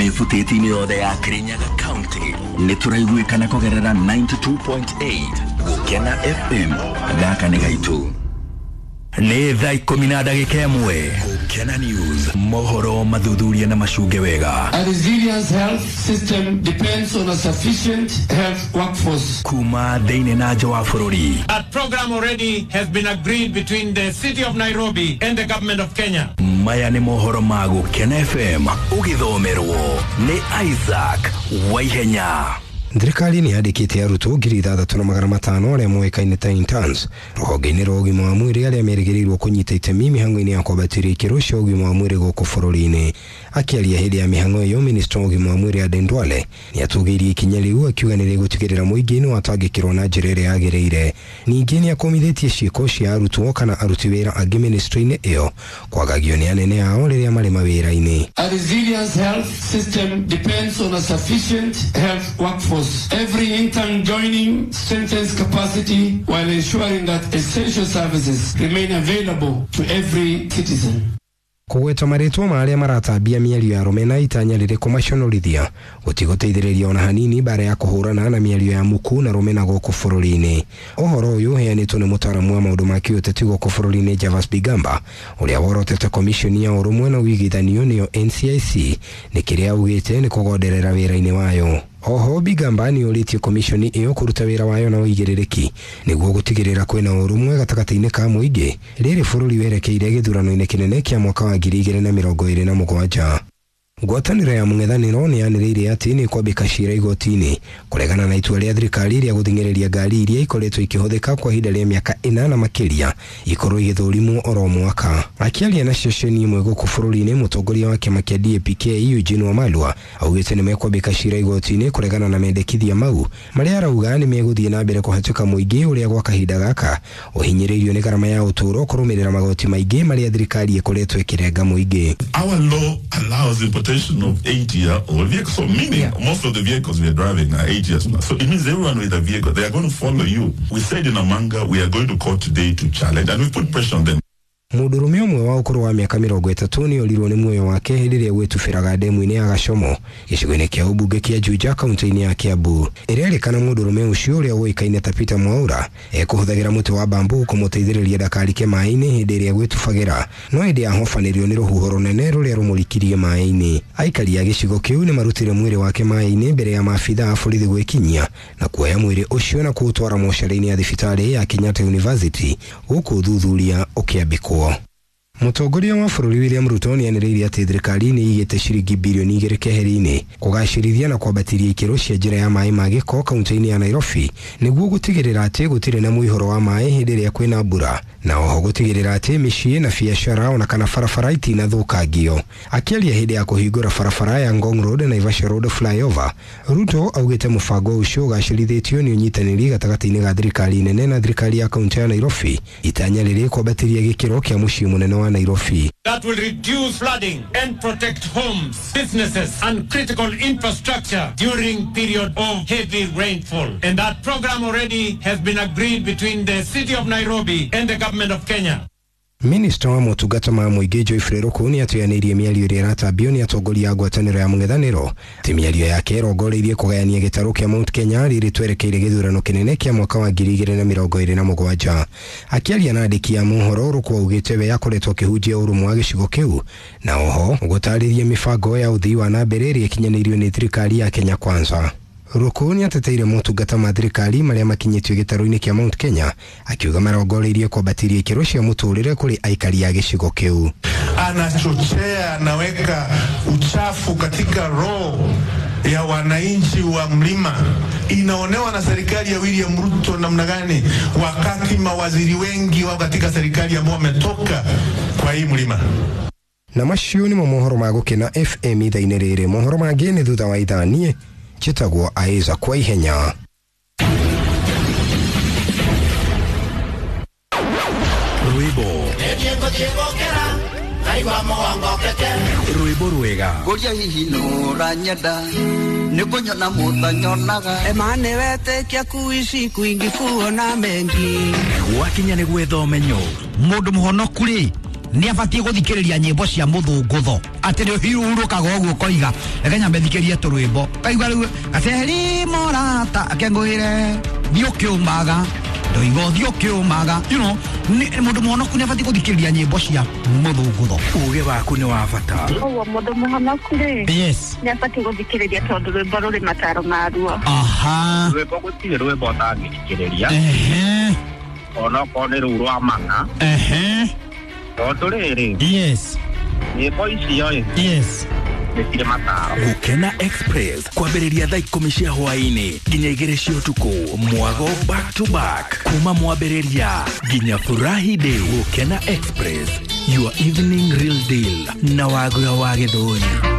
Ebutĩti-inĩ yothe ya Kirinyaga County nĩ tũraiguĩkana kũgerera 92.8 Gũkena FM. Gaka nĩ gaitũ. Nĩ thaa 11:01. Gũkena News, mohoro mathuthuria na macunge wega. A resilient health system depends on a sufficient health workforce. Kuma thĩinĩ na nja wa bũrũri. That program already has been agreed between the city of Nairobi and the government of Kenya. Maya nĩ mohoro ma Gũkena FM ũgĩthomerwo nĩ Isaac Waihenya. Thirikari nĩ yandĩkĩte arutwo 6,500 arĩa moĩkaine ta interns rũhonge-inĩ rwa ũgima wa mwĩrĩ arĩa merĩgĩrĩirwo kũnyita itemi mĩhang'o-inĩ ya kwambatĩria ikĩro cia ũgima wa mwĩrĩ gũkũ bũrũri-inĩ. Akĩaria hĩndĩ ya mĩhang'o ĩyo, minista wa ũgima wa mwĩrĩ Aden Duale nĩ atũgĩirie ikinya rĩu akiuga nĩ rĩgũtigĩrĩra mũingĩ nĩ watangĩkĩrwo na njĩra ĩrĩa yagĩrĩire. Ningĩ nĩ akũmithĩtie ciĩko cia arutwo kana aruti wĩra angĩ ministry-inĩ ĩyo kwagagio nĩ anene ao rĩrĩa marĩ mawĩra-inĩ. A resilient health system depends on a sufficient health workforce. Every intern joining strengthens capacity while ensuring that essential services remain available to every citizen. Kũgweta marĩtwa ma arĩa maratambia mĩario ya rũmena itanya rĩrĩ kũmaconorithia gũtigũteithĩrĩria ona hanini mbara ya kũhũrana na mĩario ya muku na rũmena gũkũ bũrũri-inĩ. Ũhoro ũyũ ũheanĩtwo nĩ mũtaaramu wa maũndũ ma kĩũteti gũkũ bũrũri-inĩ Javas Bigamba ũrĩa worotete komishoni ya ũrũmwe na ũigithanio nĩyo NCIC nĩ kĩrĩa augĩte nĩ kũgonderera wĩra-inĩ wayo. Oho Bigamba nĩ ũrĩtie komishoni ĩyo kũruta wĩra wayo na ũigĩrĩrĩki nĩguo gũtigĩrĩra kwĩna ũrũmwe gatagatĩ-inĩ ka mũingĩ rĩrĩ bũrũri werekeire gĩthurano-inĩ kĩnene kĩa mwaka wa 2027. Ngwatanĩro ya mũng'ethanĩro nĩ yanĩrĩire atĩ nĩ kwambĩka cira igoti-inĩ kũregana na itua rĩa thirikari rĩa gũthing'ĩrĩria ngari iria ikoretwo ikĩhũthĩka kwa ihinda rĩa mĩaka 4 na makĩria ikorwo igĩthũrimwo oro mwaka. Akĩaria na ceceni ĩmwe gũkũ bũrũri-inĩ, mũtongoria wa kĩama kĩa DAP-K Eugene Wamalwa augĩte nĩ mekwambĩka cira igoti-inĩ kũregana na mendekithia mau marĩa arauga nĩ megũthiĩ na mbere kũhatĩka mũingĩ ũrĩa gwa kahinda gaka ũhinyĩrĩirio nĩ garama ya ũtũũro kũrũmĩrĩra magoti maingĩ marĩa thirikari ĩkoretwo ĩkĩrenga mũingĩ. Our law allows importation of 8-year-old vehicles. So meaning most of the vehicles we are driving are 8 years now. So it means everyone with a vehicle, they are going to follow you. We said in Amanga, we are going to court today to challenge, and we put pressure on them. Mũndũrũme ũmwe wa ũkũrũ wa mĩaka 30 nĩ orirwo nĩ muoyo wake hĩndĩ ĩrĩa gwĩtubĩraga ndemu-inĩ ya Gacomo gĩcigo-inĩ kĩa ũmbunge kĩa Juja kaunti-inĩ ya Kiambu. Ĩrerĩkana mũndũrũme ũcio ũrĩa ũĩkaine ta Peter Mwaura ekũhũthagĩra mũtĩ wa bambu kũmũteithĩrĩria ndakarike maĩ-inĩ hĩndĩ ĩrĩa gwĩtubagĩra, no hĩndĩ ahobanĩrio nĩ rũhuho rũnene rũrĩa rũmũrikirie maĩ-inĩ. Aikari a gĩcigo kĩu nĩ marutire mwĩrĩ wake maĩ-inĩ mbere ya maabitha a borithi gwĩkinyia na kuoya mwĩrĩ ũcio na kũũtwara mocarĩ-inĩ ya thibitarĩ ya Kenyatta University gũkũ ũthuthuria ũkĩambĩkwo. Mũtongoria wa bũrũri William Ruto nĩanĩrĩire atĩ thirikari nĩ ĩigĩte ciringi bilioni 2 keheri-inĩ kũgacĩrithia na kwambatĩria ikĩro cia njĩra ya maĩ ma gĩko kaunti-inĩ ya Nairobi nĩguo gũtigĩrĩra atĩ gũtirĩ na mũihũro wa maĩ hĩndĩ ĩrĩa kwĩna mbura, na oho gũtigĩrĩra atĩ mĩciĩ na biacara ona kana barabara itinathũkangio. Akĩaria hĩndĩ ya kũhingũra barabara ya Ngong Road na Naivasha Road flyover, Ruto augĩte mũbango ũcio ũgacĩrithĩtio nĩ ũnyitanĩri gatagatĩ-inĩ ga thirikari nene na thirikari ya kaunti ya Nairobi itanya rĩrĩ kwambatĩria gĩkĩro kĩa mũciĩ mũnene wa Nairobi. That will reduce flooding and protect homes, businesses and critical infrastructure during period of heavy rainfall. And that program already has been agreed between the city of Nairobi and the government of Kenya. Minista wa motungata ma mũingĩ Geoffrey Ruku nĩ atũyanĩirie mĩario ĩrĩa ĩratambio nĩ atongoria a ngwatanĩro ya mũng'ethanĩro atĩ mĩario yake ĩrongoreirie kũgayania gĩtarũ kĩa Mount Kenya rĩrĩ twerekeire gĩthurano kĩnene kĩa mwaka wa 2027. Akĩaria na andĩki a mohoro, Ruku augĩte we akoretwo akĩhunjia ũrũmwe wa gĩcigo kĩu na oho gũtarĩria mĩbango ya ũthii wa na mbere ĩrĩa ĩkinyanĩirio nĩ thirikari ya Kenya Kwanza. Ruku nĩ ateteire motungata ma thirikari marĩa makinyĩtio gĩtarũ-inĩ kĩa Mount Kenya akiuga marongoreirie kwambatĩria ikĩro cia mũtũrĩre kũrĩ aikari a gĩcigo kĩu. Anachochea, anaweka uchafu katika roho ya wananchi wa mlima. Inaonewa na serikali ya William Ruto namna gani, wakati mawaziri wengi wao katika serikali ambao wametoka kwa hii mlima. Na macio nĩmo mohoro ma Gũkena FM ithaa-inĩ rĩrĩ. Mohoro mangĩ nĩ thutha wa ithaa. Niĩ njĩtagwo Aiza kwa ihenya. Rwĩmbo rwĩmbo rwega Ngoria hihi nũranyenda nĩkũnyona mũtanyonaga Emane wetĩkia kuishi kwingi kuona mengi gwakinya nĩ gwetha ũmenyo Mũndũ mũhonoku rĩ Nĩ abatiĩ gũthikĩrĩria nyĩmbo cia mũthũngũtho, atĩ nĩ ũhurũkaga ũguo ũkoiga reke nyambe thikĩrie tũrwĩmbo, kaigua rĩu gaceri morata akengũĩre thiĩ ũkĩũmaga ndoiga ũthiĩ ũkĩũmaga, you know, mũndũ mũhonoku nĩ abatiĩ gũthikĩrĩria nyĩmbo cia mũthũngũtho. Uge waku nĩ wa bata. Koguo mũndũ mũhonoku rĩ, yes, nĩ abatiĩ gũthikĩrĩria tondũ rwĩmbo rũrĩ mataro maruo. Aha. Rwĩmbo gũtirĩ rwĩmbo ũtangĩthikĩrĩria. Ehe. Onokorwo nĩ rũu rwa mana. Ehe. Tondũ rĩrĩ, yes, nyĩmbo icio ĩ, yes, nĩ cirĩ mataro. Gukena Express kwambĩrĩria thaa 10 cia hwaĩ-inĩ nginya 2 cia ũtukũ, mwago back to back kuma mwambĩrĩria nginya furahi day. Gukena Express, your evening real deal na Wagura wa Gĩthũri.